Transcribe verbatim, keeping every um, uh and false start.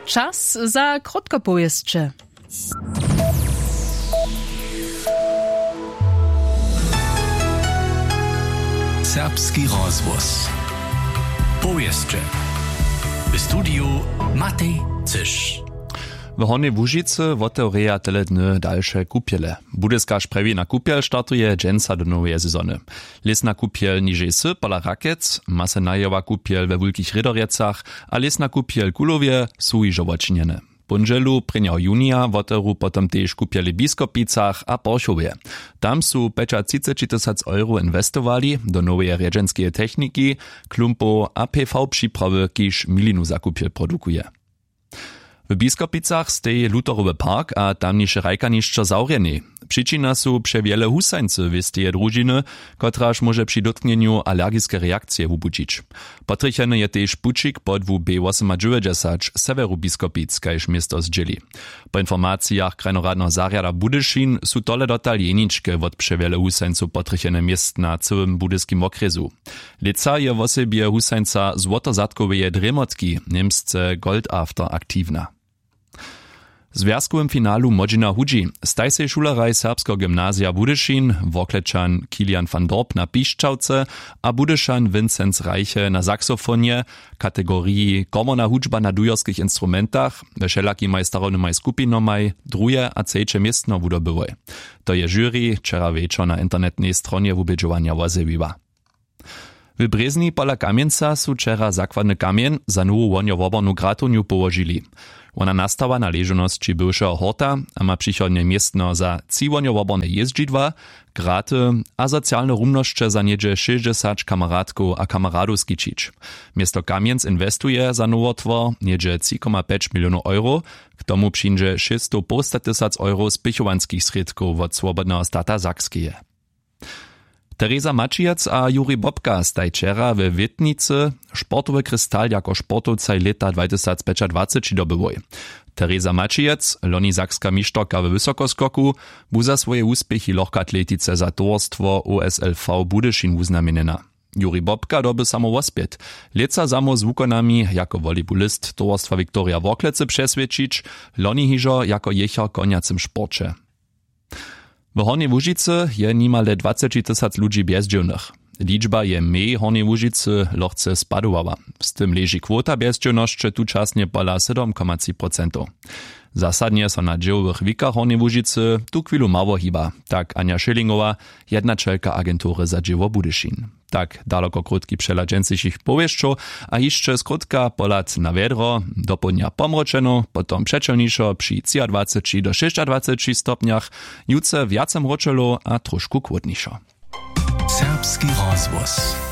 Čas za krótkopowěsće. Serbski rozhłos. Powěsće. W studiju Matej Cyš. W Hornjej Łužicy wotewrjeja tele dny dalše kupjele. Budyska sprjewjena kupjel startuje dźensa do noweje sezony. Lěsna kupjel nižej sy pola Rakec, masenajowa kupjel we Wulkich Rědorjecach a lěsna kupjel Kulowje su hižo wočinjene. Póndźelu prěnjeho junija wotewru potom tež kupjele w Biskopicach a Porchowje. Tam su pjećatřiceći tysac euro inwestowali do noweje rjedźenskeje techniki, klumpow a P V připrawy, kiž milinu za kupjel produkuje. W Biskopicach steji Lutherowy park a tamniše hrajkanišćo zawrjenej. Přičina su přewjele husańcy wěsteje družiny, kotraž móže při dótknjenju alergiske reakcije wubudźić. Potrjecheny je tež pućik po dwu B wosomadźewjećdźesać sewjeru Biskopic, kaž město zdźěli. Po informacijach krajnoradneho zarjada Budyšin su tole dotal jeničke wot přewjele husańcow potrjechene měst na cyłym budyskim wokrjesu. Lětsa je wosebje husańca złotozatkoweje drěmotki, němsce Goldafter, aktiwna. W zwjazkowym finalu młodźina hudźi staj sej šuleraj serbskeho gymnazija Budyšin, Worklećan Kilian van Dorp na pišćawce a Budyšan Vincenz Reiche na saxofonje, kategoriji komorna hudźba na dujerskich instrumentach, we wšelakimaj starobnymaj skupinomaj druhe a třeće městno wudobyłoj. To je žuri wčera wječor na internetnej stronje wubědźowanja wozjewiła. W Brězni pola Kamjenca su wčera zakładny kamjeń za nowu wohnjowobornu gratownju połožili. Wona nastała na ležownosći bywšeho horta a ma přichodnje městno za tři wohnjowoborne jězdźidła, graty a socialne rumnosće za něhdźe šěsćdźesać kameratkow a kameradow skićić. Město Kamjenc inwestuje za nowotwor něhdźe tři koma pjeć milionow euro, k tomu přińdźe šěsćstow połstatysac euro spěchowanskich srědkow wot Swobodneho stata Sakskeje. Teresa Maćijec a Juri Bobka staj wčera we Wětnicy sportowy kristal jako sportowcaj lěta dwatysacpjećadwaceći dobyłoj. Teresa Maćijec, loni sakska mišterka we wysokoskoku, bu za swoje wuspěchi w lochkoatletice za towarstwo O S L V Budyšin wuznamjenjena. Juri Bobka doby samo wospjet, lětsa samo z wukonami jako volejbolist towarstwa Viktoria Worklecy přeswědčić, loni hižo jako jěchar w konjacym sporće. W Hornjej Łužicy je nimale dwaceći tysac ludźi bjezdźěłnych. Ličba je mej w Hornjej Łužicy lochce spadowała. Z tym leži kwota bjezdźěłnosće tučasnje pola sydom koma tři procentow. Zasadnje so na dźěłowych wikach Hornjej Łužicy tuchwilu mało hiba, tak Anja Schillingowa, jednaćelka agentury za dźěło Budyšin. Tak daloko krótki přehlad dźensnišich powěsćow. A hišće skrótka pohlad na wjedro: dopołdnja pomročeno, potom přećelnišo při třiadwaceći do šěsćadwaceći stopnjach, jutře wjace mročelo a trošku chłódnišo. Serbski rozhłos.